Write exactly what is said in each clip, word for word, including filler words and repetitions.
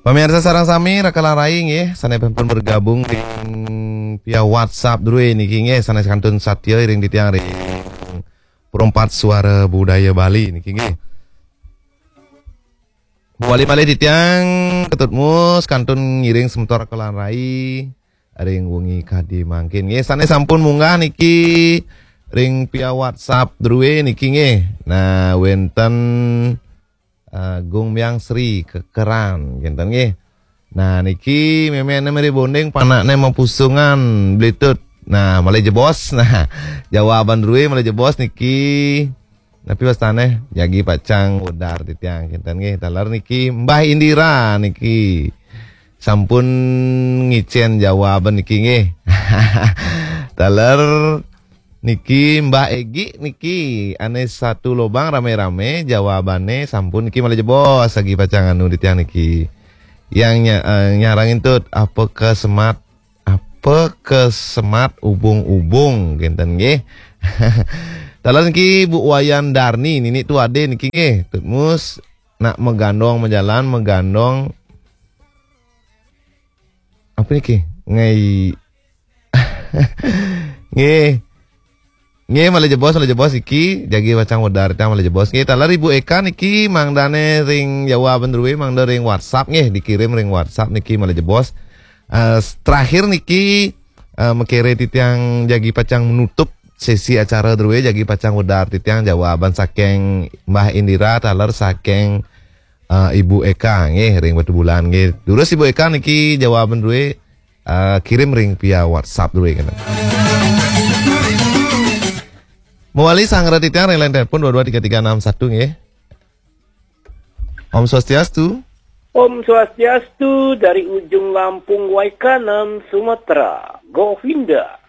Pamirsa sareng sami, raka lan rai nggih, sané sampun bergabung ring via WhatsApp drué niki nggih, sané kantun satia ring titiang ring Perempat Suara Budaya Bali niki nggih. Mawali malih titiang Ketut Mus kantun ngiring semeton raka lan rai ring wengi kadi mangkin nggih, sané sampun munggah niki ring via WhatsApp drué niki nggih. Nah, wénten eh, Gung Myang Sri Kekeran, kénten nggih. Nah, niki méméné meri bonding, panakné mapusungan, blitut. Nah, malih jebos. Nah, jawaban drué malih jebos niki. Napi wastané? Jagi pacang wedar titiang, kénten nggih. Taler niki Mbah Indira niki. Sampun ngicén jawaban niki nggih. Taler niki Mbah Egi niki, ané satu lobang ramé-ramé jawabané sampun niki malih jebos, jagi pacang anu titiang niki. Yang nya-, eh, nyarengin Tut, apa ke semat, apa ke semat ubung-ubung, kénten nggih. Taler niki Bu Wayan Darni, nini tu adé niki nggih, Tut Mus, nak magandong majalan, magandong apa niki? Ngai Nggih. Nggih, malih jebos, malih jebos iki, jagi pacang wedar titiang malih jebos. Nggih, taler Ibu Eka niki mangdané ring jawaban drué, mangda ring WhatsApp nggih, dikirim ring WhatsApp niki malih jebos. Eh, terakhir niki, eh, makiré titiang jagi pacang menutup sesi acara drué, jagi pacang wedar titiang jawaban saking Mbah Indira, taler saking eh, Ibu Eka nggih ring Batubulan nggih. Durus Ibu Eka niki jawaban drué, eh, kirim ring via WhatsApp drué kena. Mawali sanggra titiang ring line telepon dua dua tiga tiga enam satu nggih. Om Swastiastu. Om Swastiastu dari ujung Lampung Waikanan, Sumatera. Govinda.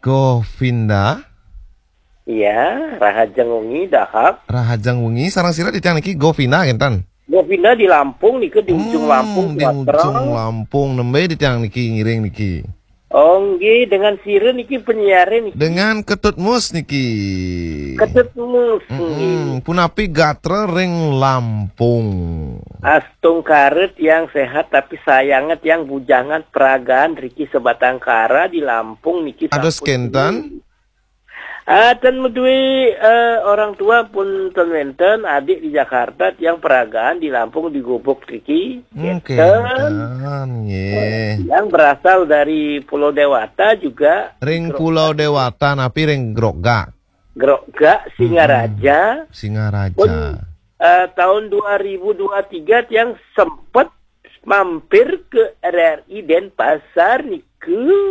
Govinda. Iya, rahajeng wengi dahar. Rahajeng wengi, sareng sira titiang niki Govinda kénten. Govinda di Lampung nika, di ujung Lampung, di Sumatera. Ujung Lampung, nembé titiang niki ngiring niki. Oh, nggih, dengan sira niki penyiaré niki. Dengan Ketut Mus niki. Ketut Mus nggih. Punapi gatra ring Lampung? Astungkara tiang sehat, tapi sayangnya tiang bujangan peragaan riki Sebatang Kara di Lampung niki. Kados sampun kénten? Ah, ten madué, eh, orang tua pun ten wénten, adik di Jakarta, tiang peragaan di Lampung di Gubuk riki. Hmm, kénten. Kénten, nggih. Yang berasal dari Pulau Dewata juga. Ring Pulau Dewata, napi ring Grogak? Grogak, Singaraja. Hmm, Singaraja. Pun, eh, tahun dua ribu dua tiga tiang sempet mampir ke R R I Denpasar niku.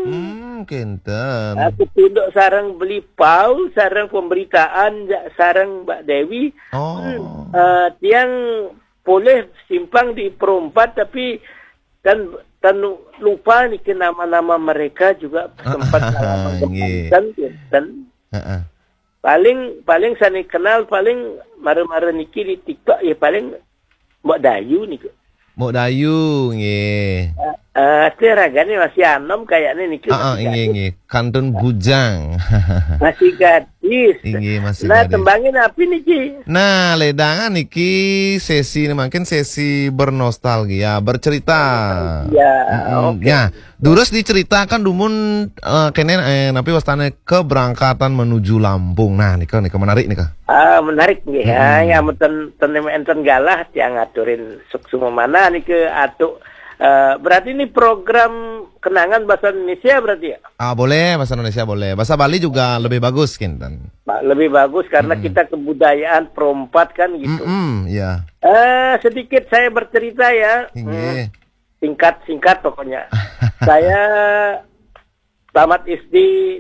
Hmm, kénten. Aku tunduk sareng beli pau, sareng pemberitaan, ja-, sareng Mbak Dewi. Oh. Hmm, eh, tiang polih simpang di Perumpat, tapi kan, kan lupa niki nama-nama mereka juga sempat lama. Nggih. Kénten, kénten. Heeh. Paling, paling sané kenal paling mara-mara niki di TikTok ya paling Mbok Dayu niku. Mbok Dayu, nggih. Eh, eh, ragané masih anom kayaknya niku. Heeh, masih nggih, gadis. Nggih. Kantun bujang. Masih gadis. Inggih, masih gadis. Nah, tembangin apa niki? Nah, ledangan niki sesi, mungkin sesi bernostalgia, bercerita. Iya, mm-mm, oke. Ya, durus diceritakan dumun, eh, kéné, eh, napi wastané keberangkatan menuju Lampung. Nah, nika, nika menarik nika. Ah, menarik nggih. Mm-mm. Ah, ya, menten, ten enten galah tiang ngaturin suksma manah nika atu, eh, berarti ini program kenangan bahasa Indonesia berarti ya? Ah, boleh, bahasa Indonesia boleh. Bahasa Bali juga lebih bagus, kinten. Lebih bagus karena kita kebudayaan Perumpat kan gitu. Mm-mm, iya. Eh, sedikit saya bercerita ya. Inggih. Hmm, singkat-singkat pokoknya. Saya tamat S D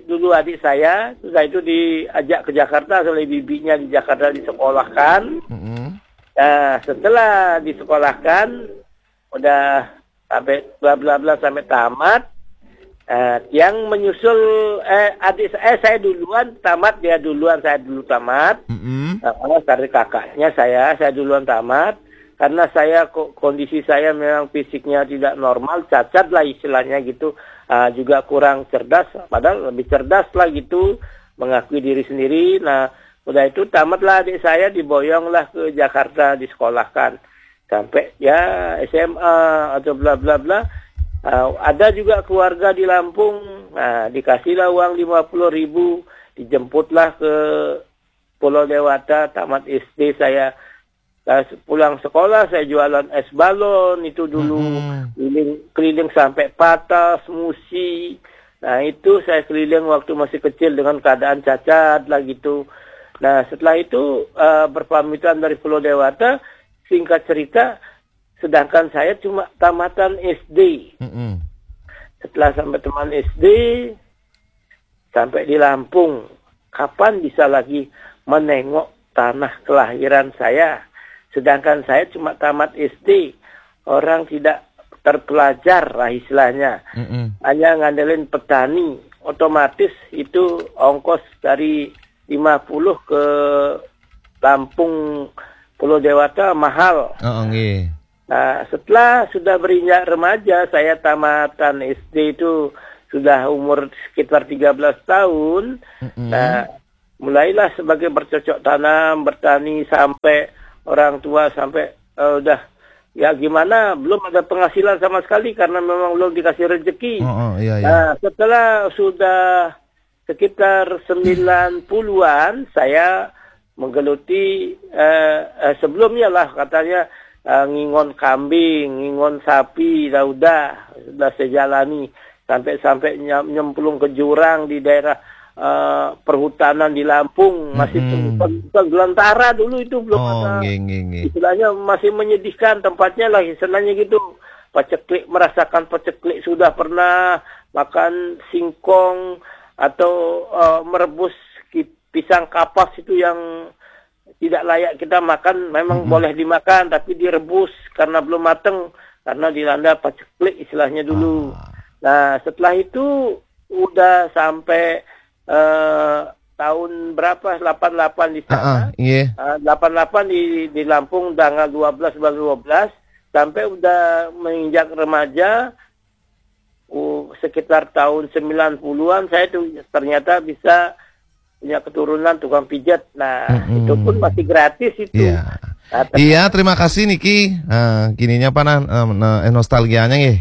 dulu adik saya, sudah itu diajak ke Jakarta oleh bibinya di Jakarta disekolahkan. Mm-mm. Nah, setelah disekolahkan, udah sampai bla bla bla sampai tamat. Eh, yang menyusul, eh, adik sa-, eh, saya duluan tamat, dia duluan, saya dulu tamat. Mm-mm. Nah, karena dari kakaknya saya, saya duluan tamat. Karena saya ko-, kondisi saya memang fisiknya tidak normal, cacat lah istilahnya gitu. Ah, juga kurang cerdas, padahal lebih cerdas lah gitu, mengakui diri sendiri. Nah, udah itu tamatlah adik saya, diboyonglah ke Jakarta, disekolahkan. sampai ya S M A atau bla bla bla. Ah, ada juga keluarga di Lampung, nah, dikasihlah uang lima puluh ribu, dijemputlah ke Pulau Dewata, tamat S D saya. Saya pulang sekolah, saya jualan es balon itu dulu, Mm-mm. keliling, keliling sampai Patas, Musi. Nah, itu saya keliling waktu masih kecil dengan keadaan cacat lah gitu. Nah, setelah itu, eh, berpamitan dari Pulau Dewata, singkat cerita, sedangkan saya cuma tamatan S D. Mm-mm. Setelah sampai teman S D, sampai di Lampung, kapan bisa lagi menengok tanah kelahiran saya? Sedangkan saya cuma tamat S D, orang tidak terpelajar lah istilahnya. Mm-mm. Hanya ngandelin petani, otomatis itu ongkos dari lima puluh ke Lampung, Pulau Dewata mahal. Oh, nggih. Nah, setelah sudah beranjak remaja, saya tamatan S D itu sudah umur sekitar tiga belas tahun. Mm-mm. Nah, mulailah sebagai bercocok tanam, bertani sampai orang tua sampai, eh, udah ya gimana, belum ada penghasilan sama sekali karena memang belum dikasih rezeki. Oh, oh, iya, iya. Nah, setelah sudah sekitar sembilan puluhan, saya menggeluti, eh, eh, sebelumnya lah katanya, eh, ngingon kambing, ngingon sapi, dah udah, sudah saya jalani sampai-sampai nyem- nyemplung ke jurang di daerah, eh, perhutanan di Lampung, masih Mm-mm. peng- peng- gelantara dulu itu, belum Oh, ada, nggih, nggih, nggih. istilahnya masih menyedihkan tempatnya lah, istilahnya gitu. Paceklik, merasakan paceklik sudah pernah, makan singkong atau, eh, merebus ki- pisang kapas itu yang tidak layak kita makan, memang Mm-mm. boleh dimakan tapi direbus karena belum mateng, karena dilanda paceklik istilahnya dulu. Ah. Nah, setelah itu udah sampai, eh, tahun berapa, delapan delapan di Ah, ah, sana. nggih. Eh, delapan delapan di di Lampung, tanggal dua belas bulan dua belas, sampai udah menginjak remaja, uh, sekitar tahun sembilan puluhan, saya tuh ternyata bisa punya keturunan tukang pijat. Nah, Mm-mm. itu pun masih gratis itu. Iya. Nah, ter- Iya, terima kasih niki. Eh, kininya apa, nah, eh, nah, eh, nostalgianya nggih.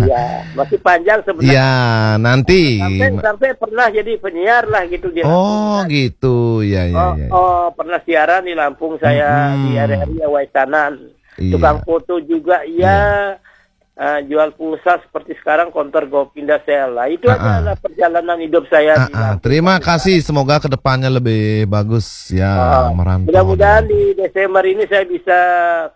Iya, masih panjang sebenarnya. Iya, nanti. Sampai sampai pernah jadi penyiar lah gitu di Oh, Lampung. Gitu. Iya, iya, Oh, iya. oh, pernah siaran di Lampung saya, Mm-mm. di R R I Waisanan. Iya. Tukang foto juga, iya. Eh, jual pulsa seperti sekarang, konter Gopinda Sel. Lah, itu Ah, aja ah. Lah perjalanan hidup saya Ah, di ah, Lampung. Terima kasih, semoga kedepannya lebih bagus ya, Ah, merantau. mudah-mudahan di Desember ini saya bisa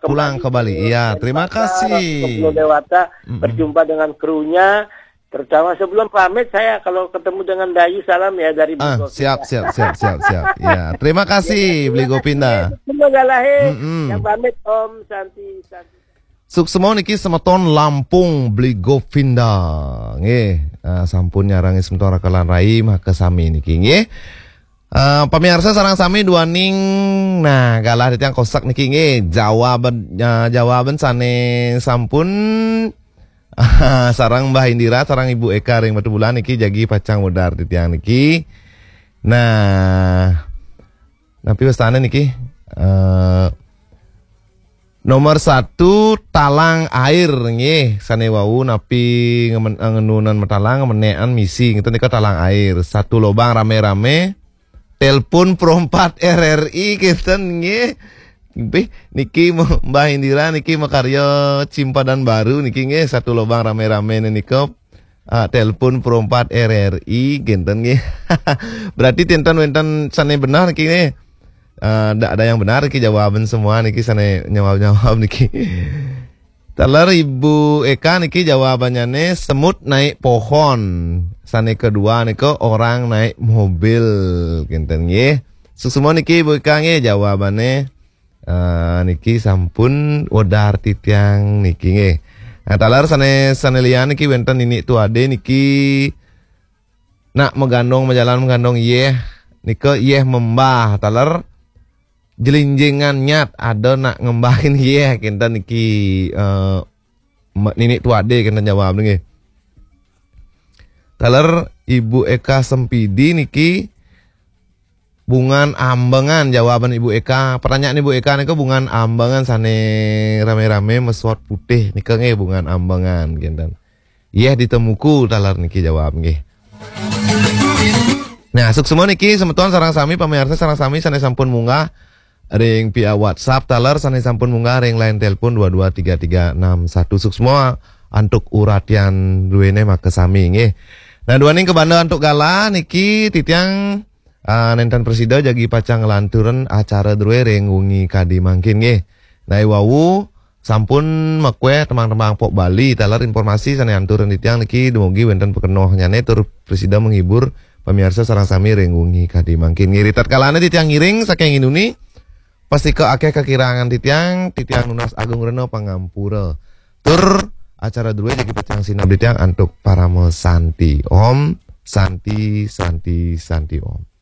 Pulang kembali. ke Iya, Denpasar, terima kasih. ke Pulau Dewata, Mm-mm. berjumpa dengan krunya. Terutama sebelum pamit, saya kalau ketemu dengan Dayu, salam ya dari Ah, Bogor. Siap, siap, siap, siap, siap. Ya, terima kasih, Beli Gopinda. Semoga lahir. Mm-mm. Yang pamit, Om Santi, Santi. Suksma niki semeton Lampung, Beli Govinda. Nggih, eh, sampun nyarengi semeton raka lan rai, maka sami niki nggih. Eh, pemirsa sareng sami duaning, nah, galah titiang kosak niki nggih. Jawaban, eh, jawaban sane sampun sareng Mbah Indira, sareng Ibu Eka ring Batubulan niki jagi pacang wédar titiang niki. Nah, napi wastane niki? Eh, nomor satu, talang air nggih. Sane wau napi ngemen-, eh, ngenunan matalang, ngemenekan misi, ngeten nika talang air. Satu lobang rame-rame. Telepon Pro empat R R I kenten nggih. Nggih, niki Mbah Indira niki makarya cimpadan baru niki nggih, satu lobang rame-rame nika. Ah, telepon Pro empat R R I kenten nggih. Berarti tinten wenten sane benar niki nggih. Eh, ndak ada yang benar niki, jawaban semua niki sane nyawab-nyawab niki. Taler Ibu Eka niki jawabannya semut naik pohon. Sane kedua nika orang naik mobil. Kenten nggih. Suksma niki Ibu Eka nggih jawabane. Eh, niki sampun wédar titiang niki nggih. Nah, taler sane, sane liyan niki wenten Nini Tuade niki nak megandong, mejalan megandong yeh. Nika yeh membah. Taler jelinjingan nyat ada nak ngembahin yeh, kenten niki, eh, me-, Nini Tuade kenten jawab nggih. Taler Ibu Eka Sempidi niki Bungan Ambengan, jawaban Ibu Eka. Pertanyaan Ibu Eka nika, Bungan Ambengan sane rame-rame mesot putih nika nggih, Bungan Ambengan kinten. Yeh ditemuku taler niki jawab nggih. Nah, suksma niki semeton sareng sami, pamiarsa sareng sami sane sampun munggah ring pihak WhatsApp taler sane sampun munggah ring line telepon dua dua tiga tiga enam satu. Suksma antuk uratian druene makasami nggih. Nah, duaning kabanda antuk galah niki titiang ah, nenten prasida jagi pacang nglanturang acara drue ring wengi kadi mangkin nggih. Nah, wau sampun makueh tembang-tembang pop Bali taler informasi sane anturin titiang niki dumugi wenten pakenohnyane tur prasida menghibur pamiarsa sareng sami ring wengi kadi mangkin nggih. Ritatkala titiang ngiring saking indune, pastika akeh kakirangan titiang, titiang nunas agung rena pangampura. Tur acara drue jagi pacang sineb titiang antuk parama santi. Om Santi, Santi, Santi Om.